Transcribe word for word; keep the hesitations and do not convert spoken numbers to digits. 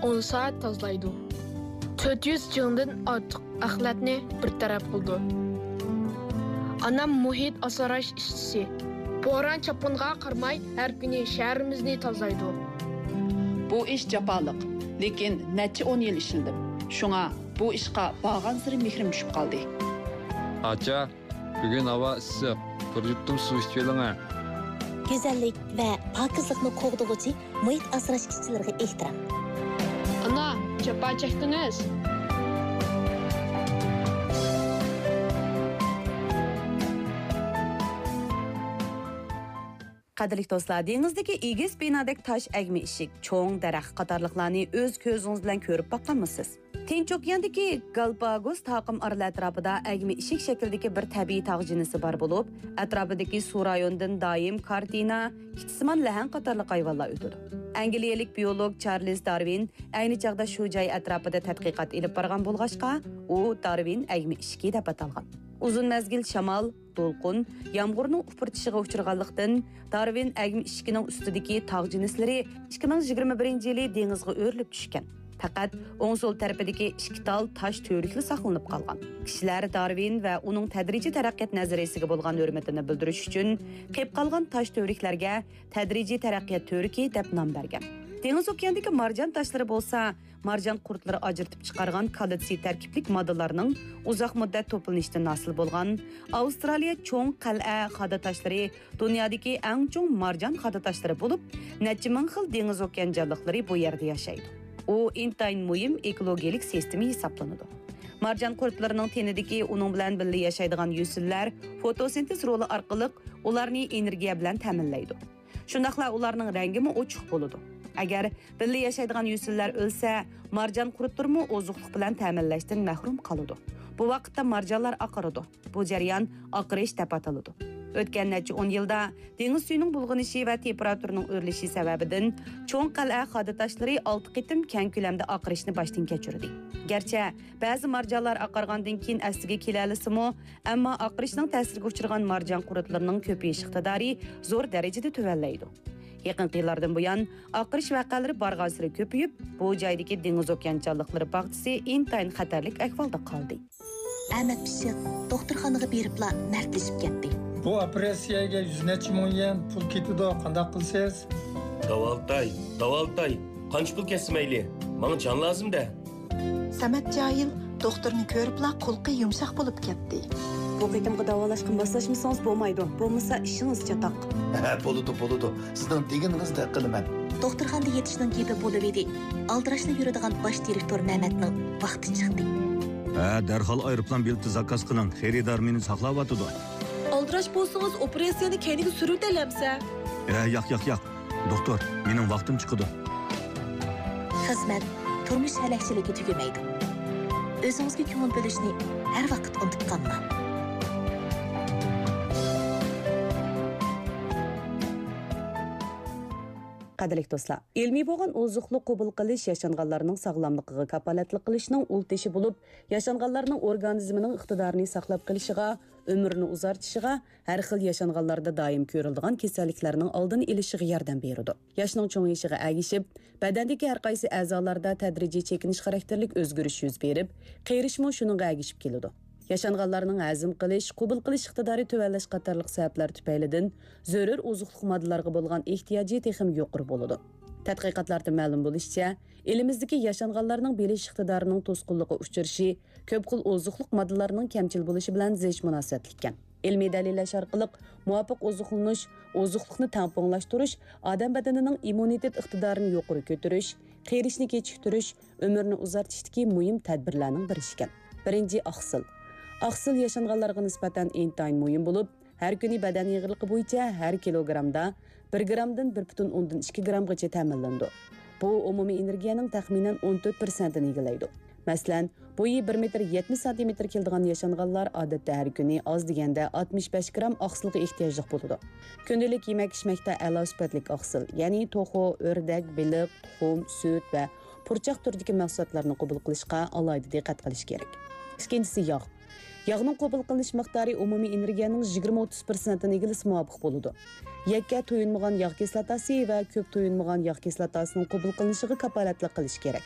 ئون سائەت تازىلايدۇ. تۆت يۈز جىڭدىن ئارتۇق ئەخلەتنى بىر تەرەپ قىلىدۇ. ئانام مۇھىت ئاسراش ئىشچىسى. بوران-چاپقۇنغا قارىماي، ھەر كۈنى شەھىرىمىزنى تازىلايدۇ. بۇ ئىش جاپالىق، لېكىن نەچچە ئون يىل ئىشلىدىم. شۇڭا بۇ ئىشقا بارغانسېرى مېھرىم چۈشۈپ قالدى. ئاچا، بۈگۈن ھاۋا ئىسسىق، بىر يۇتۇم سۇ ئىچىۋېلىڭە. گۈزەللىك ۋە پاكىزلىقنى قوغدىغۇچى مۇھىت ئاسراش ئىشچىلىرىغا ئېھتىرام. ئانا، جاپا چەكتىڭىز. قەدىرلىك دوستلار، دېڭىزدىكى ئېگىز بىنادەك تاش ئەگمە ئىشىك، چوڭ دەرەخ قاتارلىقلارنى ئۆز كۆزىڭىز بىلەن كۆرۈپ باققانمۇسىز؟ تىنچ ئوكياندىكى گالپاگوس تاقىم ئارىلى ئەتراپىدا ئەگمە ئىشىك شەكلىدىكى بىر تەبىئىي تاغ جىنسى بار بولۇپ، ئەتراپىدىكى سۇ رايونىدىن دائىم كارتىنا، كىتسىمان لەھەڭ قاتارلىق ھايۋانلار ئۆتىدۇ. ئەنگلىيەلىك بىيولوگ چارلىز دارۋىن ئەينى چاغدا شۇ جاي ئەتراپىدا تەتقىقات ئېلىپ بارغان بولغاچقا، ئۇ دارۋىن ئەگمە ئىشىكى دەپ ئاتالغان. ئۇزۇن مەزگىل شامال، دولقۇن، يامغۇرنىڭ ئۇپرىتىشىغا ئۇچرىغانلىقتىن، دارۋىن ئەگمە ئىشىكىنىڭ ئۈستىدىكى تاغ جىنسلىرى ئىككى مىڭ يىگىرمە بىرىنچى يىلى دېڭىزغا ئۆرۈلۈپ چۈشكەن. پەقەت ئوڭ سول تەرىپىدىكى ئىككى تال تاش تۈۋرۈكلا ساقلىنىپ قالغان. كىشىلەر دارۋىن ۋە ئۇنىڭ تەدرىجىي تەرەققىيات نەزەرىيىسىگە بولغان ھۆرمىتىنى بىلدۈرۈش ئۈچۈن، قېلىپ قالغان تاش تۈۋرۈكلەرگە تەدرىجىي تەرەققىيات تۈۋرۈكى دەپ نام بەرگەن. دېڭىز ئوكياندىكى مارجان تاشلىرى بولسا، مارجان قۇرتلىرى ئاجرىتىپ چىقارغان كالتسىي تەركىبلىك ماددىلارنىڭ ئۇزاق مۇددەت توپلىنىشىدىن ھاسىل بولغان ئاۋسترالىيە چوڭ قەلئە خادا تاشلىرى دۇنيادىكى ئەڭ چوڭ مارجان خادا تاشلىرى بولۇپ، نەچچە مىڭ خىل دېڭىز ئوكيان جانلىقلىرى بۇ يەردە ياشايدۇ. ئۇ ئىنتايىن مۇھىم ئېكولوگىيەلىك سىستېما ھېسابلىنىدۇ. مارجان قۇرتلىرىنىڭ تېنىدىكى ئۇنىڭ بىلەن بىللە ياشايدىغان يۈسۈنلەر فوتوسىنتېز رولى ئارقىلىق ئۇلارنى ئېنېرگىيە بىلەن تەمىنلەيدۇ. شۇنداقلا ئۇلارنىڭ رەڭگىمۇ ئوچۇق بولىدۇ. ئەگەر بىللە ياشايدىغان يۈسۈنلەر ئۆلسە، مارجان قۇرتلىرىمۇ ئوزۇقلۇق بىلەن تەمىنلەشتىن مەھرۇم قالىدۇ. بۇ ۋاقىتتا مارجانلار ئاقىرىدۇ. بۇ جەريان ئاقىرىش دەپ ئاتىلىدۇ. ئۆتكەن نەچچە ئون يىلدا دېڭىز سۈيىنىڭ بۇلغىنىشى ۋە تېمپېراتۇرىنىڭ ئۆرلىشى سەۋەبىدىن چوڭ قەلئە خادا تاشلىرى ئالتە قېتىم كەڭ كۆلەمدە ئاقىرىشنى باشتىن كەچۈردى. گەرچە بەزى مارجانلار ئاقارغاندىن كېيىن ئەسلىگە كېلەلىسىمۇ، ئەمما ئاقىرىشنىڭ تەسىرىگە ئۇچرىغان مارجان قۇرتلىرىنىڭ كۆپىيىش ئىقتىدارى زور دەرىجىدە تۆۋەنلەيدۇ. يېقىنقى يىللاردىن بۇيان، ئاقىرىش ۋەقەلىرى بارغانسېرى كۆپىيىپ، بۇ جايدىكى دېڭىز ئوكيان جانلىقلىرى باغچىسى ئىنتايىن خەتەرلىك ئەھۋالدا قالدى. ئەمەت پىششىق دوختۇرخانىغا بېرىپلا مەردلىشىپ كەتتى. بۇ ئوپېراتسىيەگە يۈز نەچچە مىڭ يۈەن پۇل كېتىدۇ، قانداق قىلىسىز؟ داۋالىتاي، داۋالىتاي، قانچە پۇل كەتسە مەيلى، ماڭا جان لازىم-دە. سەمەت جاھىل دوختۇرنى كۆرۈپلا قۇلىقى يۇمشاق بولۇپ كەتتى. بۇ قېتىمقى داۋالاشقا ماسلاشمىسىڭىز بولمايدۇ، بولمىسا ئىشىڭىز چاتاق. ھە، بولىدۇ، بولىدۇ. سىزنىڭ دېگىنىڭىزدەك قىلىمەن. دوختۇرخانىدا يېتىشنىڭ گېپى بولۇۋىدى. ئالدىراشلا يۈرىدىغان باش دىرېكتور مەمەتنىڭ ۋاقتى چىقتى. ھە، دەرھال ئايروپىلان بېلىتى زاكاز قىلىڭ، خېرىدار مېنى ساقلاۋاتىدۇ. ئالدىراش بولسىڭىز، ئوپېراتسىيەنى كەينىگە سۈرۈۋېتەيلى ئەمىسە. ھە، ياق، ياق، ياق. دوختۇر، مېنىڭ ۋاقتىم چىقىدۇ. خىزمەت، تۇرمۇش ھەلەكچىلىكى تۈگىمەيدۇ. ئۆزىڭىزگە كۆڭۈل بۆلۈشنى ھەر ۋاقىت ئۇنتۇپ قالماڭ. قەدىرلىك دوستلار، ئىلمىي بولغان ئوزۇقلۇق قوبۇل قىلىش ياشانغانلارنىڭ ساغلاملىقىغا كاپالەتلىك قىلىشنىڭ ئۇل تېشى بولۇپ، ياشانغانلارنىڭ ئورگانىزمىنىڭ ئىقتىدارىنى ساقلاپ قېلىشىغا، ئۆمرىنى ئۇزارتىشىغا، ھەر خىل ياشانغانلاردا دائىم كۆرۈلىدىغان كېسەللىكلەرنىڭ ئالدىنى ئېلىشىغا ياردەم بېرىدۇ. ياشنىڭ چوڭىيىشىغا ئەگىشىپ، بەدەندىكى ھەر قايسى ئەزالاردا تەدرىجىي چېكىنىش خاراكتېرلىك ئۆزگىرىش يۈز بېرىپ، قېرىشمۇ شۇنىڭغا ئەگىشىپ كېلىدۇ. ياشانغانلارنىڭ ھەزىم قىلىش، قوبۇل قىلىش ئىقتىدارى تۆۋەنلەش قاتارلىق سەۋەبلەر تۈپەيلىدىن زۆرۈر ئوزۇقلۇق ماددىلارغا بولغان ئېھتىياجى تېخىمۇ يۇقىرى بولىدۇ. تەتقىقاتلاردىن مەلۇم بولۇشىچە، ئېلىمىزدىكى ياشانغانلارنىڭ بىلىش ئىقتىدارىنىڭ توسقۇنلۇققا ئۇچرىشى كۆپ خىل ئوزۇقلۇق ماددىلىرىنىڭ كەمچىل بولۇشى بىلەن زىچ مۇناسىۋەتلىككەن. ئىلمىي دەلىللەش ئارقىلىق مۇۋاپىق ئوزۇقلىنىش، ئوزۇقلۇقنى تەڭپۇڭلاشتۇرۇش، ئادەم بەدىنىنىڭ ئىممۇنىتېت ئىقتىدارىنى يۇقىرى كۆتۈرۈش، قېرىشنى كېچىكتۈرۈش، ئۆمۈرنى ئۇزارتىشتىكى مۇھىم تەدبىرلەرنىڭ بىرى ئىكەن. بىرىنچى، ئاقسىل. ئاقسىل ياشانغانلارغا نىسبەتەن ئىنتايىن مۇھىم بولۇپ، ھەر كۈنى بەدەن ئېغىرلىقى بويىچە ھەر كىلوگرامدا بىر گرامدىن بىر پۈتۈن ئوندىن ئىككى گرامغىچە تەمىنلىنىدۇ. بۇ ئومۇمىي ئېنېرگىيەنىڭ تەخمىنەن ئون تۆت پىرسەنتىنى ئىگىلەيدۇ. مەسىلەن، بويى بىر مېتىر يەتمىش سانتىمېتىر كېلىدىغان ياشانغانلار ئادەتتە ھەر كۈنى ئاز دېگەندە ئاتمىش بەش گرام ئاقسىلغا ئېھتىياجلىق بولىدۇ. كۈندىلىك يېمەك-ئىچمەكتە ئەلا سۈپەتلىك ئاقسىل، يەنى توخۇ، ئۆردەك، بېلىق، تۇخۇم، سۈت ۋە پۇرچاق تۈرىدىكى مەھسۇلاتلارنى قوبۇل قىلىشقا ئالاھىدە دىققەت قىلىش كېرەك. ئىككىنچىسى، ياغ. ياغنىڭ قوبۇل قىلىنىش مىقدارى ئومۇمىي ئېنېرگىيەنىڭ يىگىرمە ئوتتۇز پىرسەنتىنى ئىگىلىسە مۇۋاپىق بولىدۇ. يەككە تويۇنمىغان ياغ كىسلاتاسى ۋە كۆپ تويۇنمىغان ياغ كىسلاتاسىنىڭ قوبۇل قىلىنىشىغا كاپالەتلىك قىلىش كېرەك.